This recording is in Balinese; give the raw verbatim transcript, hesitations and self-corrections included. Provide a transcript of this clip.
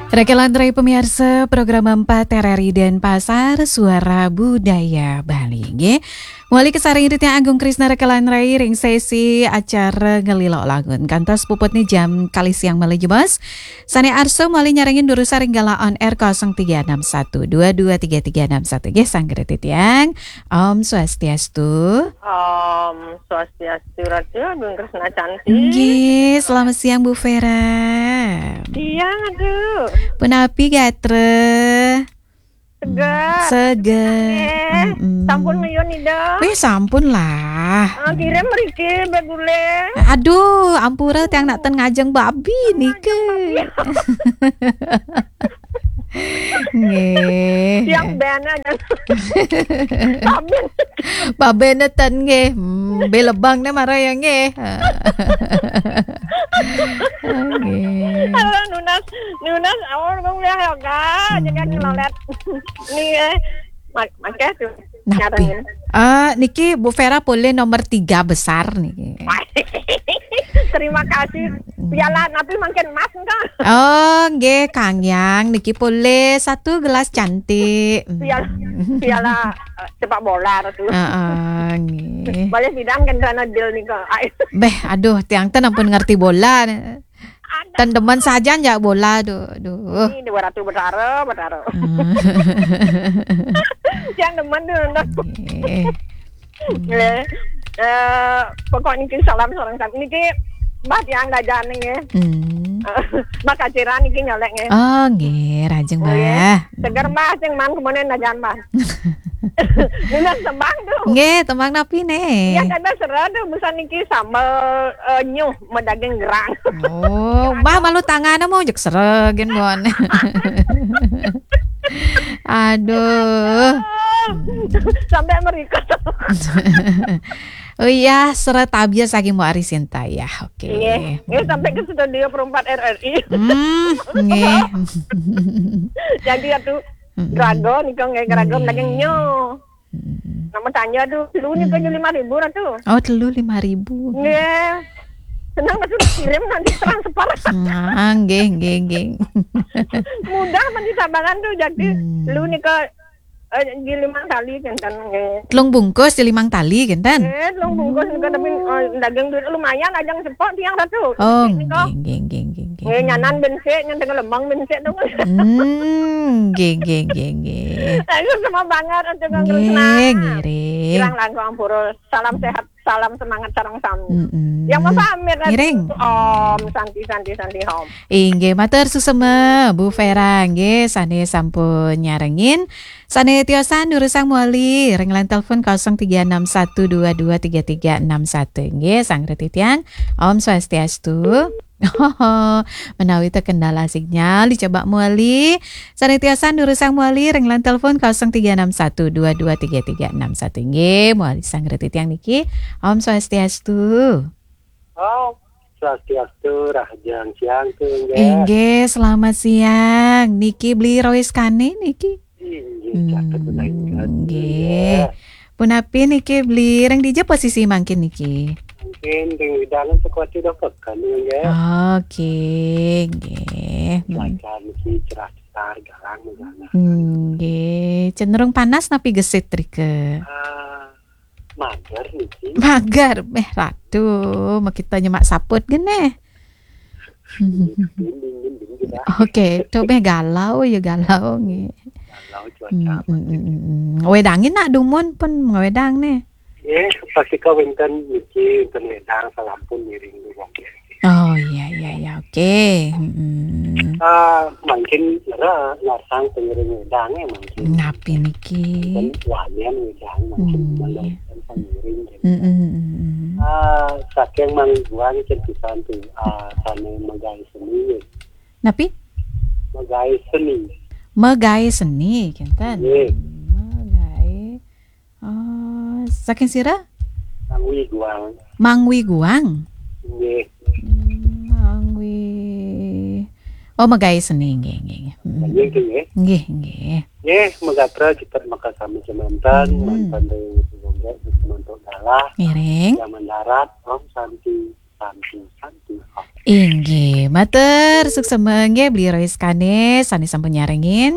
Rekan lantarai pamiarsa program empat R R I Denpasar, Suara Budaya Bali, nggih. Mawali kasarengin titiang Agung Krisna rekan lantarai ring sesi acara Ngelilok Langun. Kantos puputne jam kalih siang malih jebos. Sane arsa mawali nyarengin durusang ring galah on air kosong tiga enam satu dua dua tiga tiga enam satu. Nggih, sanggra titiang. Om Swastiastu. Om Swastiastu, Ratu Agung Krisna Cantik. Nggih, selamat siang, Bu Vera. Siang, aduh. Punapi gatra? Seger. Seger. Nggih. Mm-mm. Sampun nguyun Ida? Wih, sampun lah. Ah, kirim mriki, Mbak Gule. Aduh, ampura tiang nak ten ngajeng babi nika. Nggih. Tiang ben aja. Babi. Babe neten nggih. Hmm, be lebang ne mara ya nggih. Nggih. Halo, nunas, nunas, awal bang udah ya, Kak. Jangan Hmm. ngelolet. Nih, eh. Mak-, makanya tuh. Nah, nyarengin. Eh, niki Bu Vera polih nomor tiga besar niki. Terima kasih. Hmm. Piala napi mangkin emas enggak? Oh, nggih, Kang Yang. Niki polih satu gelas cantik. Hmm. Piala, piala, eh, sepak bola tuh. Heeh, nggih. Boleh sidang kan sana deal nih kok. Ai. Beh, aduh, tiang ten ampun ngerti bola. Ada. Ten demen sajan jak bola, duh, duh. Ini dua ratus betara, betara. Hmm. Yang demen tuh, nonton. Nggih. Nggih. Eh, pokok niki salam sareng sami. Niki Mbah tiang dajan nggih. Hmm. Mbah Kaciran niki nyolek nggih. Oh, nggih, rajeng, nggih. Mbah. Seger, Mbah, sing man kemene dajan, Mbah. Nunas tembang tuh. Nggih, tembang napi ne? Iya, kan sera tuh, busan niki sambel, eh, nyuh, medaging gerang. Oh, Mbah malu tangane mau jek sera gen bon. Aduh. Sampai merikat. Oh iya, sera tabias lagi mau Ari Sinta ya. Oke. Nggih. Nggih, sampai ke studio perempat R R I. Hmm, nggih. Jadi atuh Mm-mm. Grago nika nggih, grago nggih. Daging nyo. Mm-mm. Nama tanya tuh, telu nika Hmm. lima ribu Ratu. Oh, telu lima ribu. Nggih. Senang Ratu kirim nanti transfer. Ah, nggih, nggih, nggih. Mudah men di Sabangan tuh jadi Hmm. telu nika, eh, di limang tali kenten nggih. Telung bungkus di limang tali kenten? Eh, telung bungkus nika tapi, eh, daging duit lumayan ajang sepok tiang Ratu. Oh, nika. Nggih, nggih, nggih, nggih, nggih. Nggih, nyanan bensik, nyen tengah lembang bensik tuh. Hmm, nggih, nggih, nggih, nggih. Aduh, sama banget untuk Kang Krisna. Nggih, ngiring. Kirang langkung ampura. Salam sehat, salam semangat sareng sami. Mm-mm. Yang mau pamit, ngiring. Om Santi, Santi, Santi, Om. Inggih, matur suksema, Bu Vera, nggih, sane sampun nyarengin. Sane tiosan durusang mawali, ring line telepon kosong tiga enam satu dua dua tiga tiga enam satu. Nggih, sang reti tiang. Om Swastiastu. Menawi terkendala sinyal, dicoba mawali. Sane tiosan durusang mawali, ring line telepon kosong tiga enam satu dua dua tiga tiga enam satu. Nggih, mawali sang reti tiang niki. Om Swastiastu. Om Swastiastu, rahajeng siang tuh, nggih. Inggih, selamat siang. Niki Beli Rois Kane niki? Inggih, catet Hmm, menawi nggih. Nggih. Punapi niki Beli, ring dija posisi mangkin niki? Mungkin ring wedangan Sekuati Dokokan, nggih. Oke, nggih. Hmm. Cuaca niki cerah cetar, galang, galang. Nggih, cenderung panas napi gesit rika? Ah, mager niki. Mager, meh Ratu, makita nyemak saput geneh. Dinding, dinding, gitu lah. Oke, to meh galau ya galau nggih. Galau cuaca. Hmm, hmm, hmm, hmm, hmm. Wedangin nak dumun pun ngawedang nih. Eh, pasti ka wenten niki, wenten wedang salampun ngiring duwong. Oh iya iya iya, oke. Hmm. Ah, mungkin nera ngasang pengiring wedang ya mungkin. Napi niki? Wenten wanian wedang mungkin Hmm. Malah wenten pengiring. Hmm, hmm, hmm, hmm. Ah, saking Mang Guang cerpisan tuh, ah, sane megai seni. Napi? Megai seni. Megai seni, kinten. Nggih. Megai. Oh, saking sira? Mangwi Guang. Mangwi Guang? Nggih. Hmm, Mangwi. Oh, megai seni, nggih, nggih, nggih. Hmm. Nggih, nggih, nggih. Nggih, nggih. Nggih, megatra kita maka sami semanten, Hmm. mantan dari Suganda, mantuk dalah. Ngiring. Yang mendarat, Om Santi, Santi, Santi, Om. Inggih, matur suksma nggih Beli Roy Skanes sane sampun nyarengin.